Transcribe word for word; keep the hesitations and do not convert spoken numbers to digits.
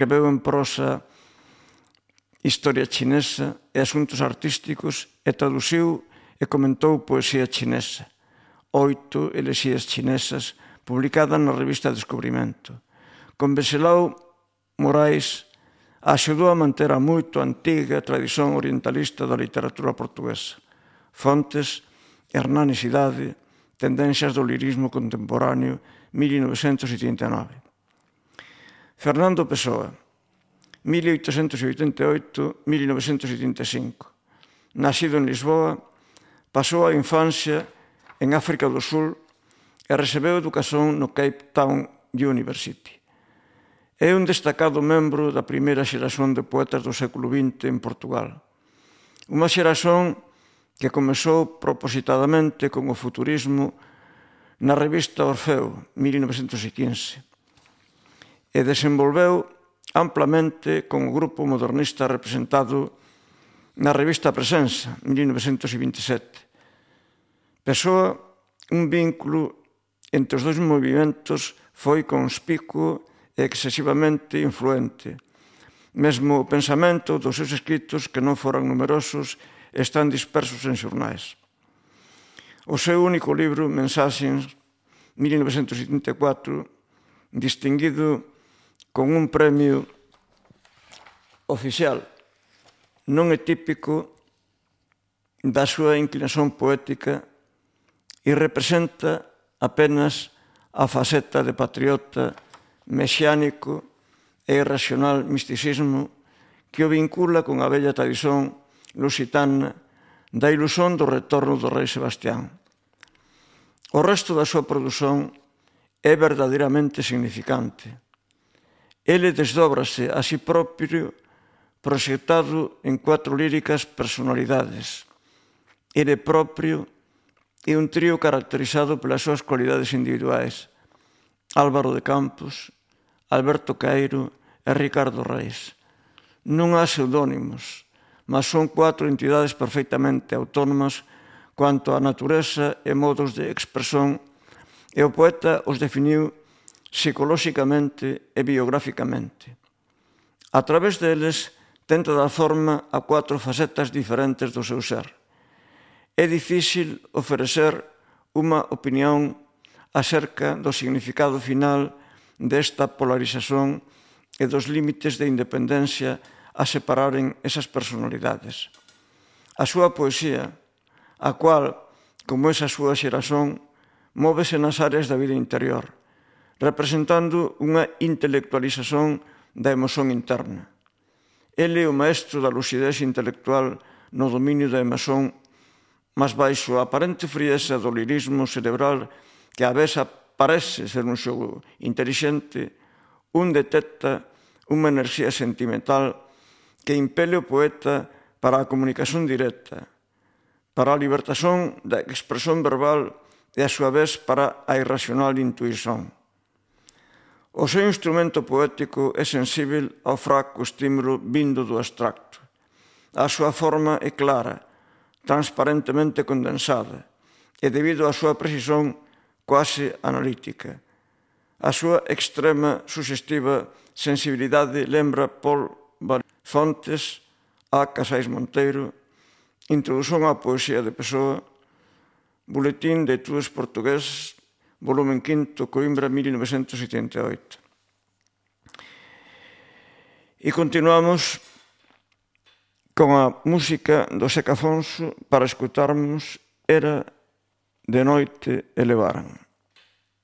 escreveu en prosa historia chinesa e asuntos artísticos e traduciu e comentou poesía chinesa. Oito elexías chinesas publicadas na revista Descubrimento. Con Veselao Morais axudou a manter a moito antiga tradición orientalista da literatura portuguesa. Fontes, Hernán e Cidade, Tendencias do lirismo contemporáneo, mil novecentos setenta e nove. Fernando Pessoa, mil oitocentos oitenta e oito a mil novecentos setenta e cinco. Nacido en Lisboa, pasou a infancia en África do Sul e recebeu educación no Cape Town University. É un destacado membro da primeira xeración de poetas do século vinte en Portugal. Unha xeración que comezou propositadamente con o futurismo na revista Orfeo, mil novecentos quince, e desenvolveu amplamente con o grupo modernista representado na revista Presenza, mil novecentos vinte e sete. Pessoa, un vínculo entre os dois movimentos foi conspicuo e excesivamente influente. Mesmo o pensamento dos seus escritos, que non foran numerosos, están dispersos en xornais. O seu único libro, Mensaxes, mil novecentos setenta e catro, distinguido con un premio oficial, non é típico da súa inclinación poética e representa apenas a faceta de patriota mesiánico e irracional misticismo que o vincula con a bella tradición lusitana da ilusión do retorno do rei Sebastián. O resto da súa produción é verdadeiramente significante. Ele desdóbrase a si propio proxectado en cuatro líricas personalidades. Ele propio é un trío caracterizado pelas súas cualidades individuais: Álvaro de Campos, Alberto Caeiro e Ricardo Reis. Non há pseudónimos, mas son cuatro entidades perfectamente autónomas cuanto á natureza e modos de expresión, e o poeta os definiu psicolóxicamente e biográficamente. A través deles tenta dar forma a cuatro facetas diferentes do seu ser. É difícil ofrecer unha opinión acerca do significado final desta polarización e dos límites de independencia a separaren esas personalidades. A súa poesía, a cual, como esa súa xeración, móvese nas áreas da vida interior, representando unha intelectualización da emoción interna. Ele é o maestro da lucidez intelectual no dominio da emoción, mas baixo a aparente frieza do lirismo cerebral que a vez parece ser un xogo intelixente, un detecta unha enerxía sentimental que impele o poeta para a comunicación directa, para a libertación da expresión verbal e, a súa vez, para a irracional intuición. O seu instrumento poético é sensível ao fraco estímulo vindo do abstracto. A súa forma é clara, transparentemente condensada, e debido á súa precisión quase analítica. A súa extrema suxestiva sensibilidade lembra Paul Fontes, A. Casais Monteiro, Introdución á poesía de Pessoa, Boletín de Etudes Portugués, volumen quinto, Coimbra, mil novecentos setenta e oito. E continuamos con a música do Seca Afonso para escutarmos Era de noite e levaran.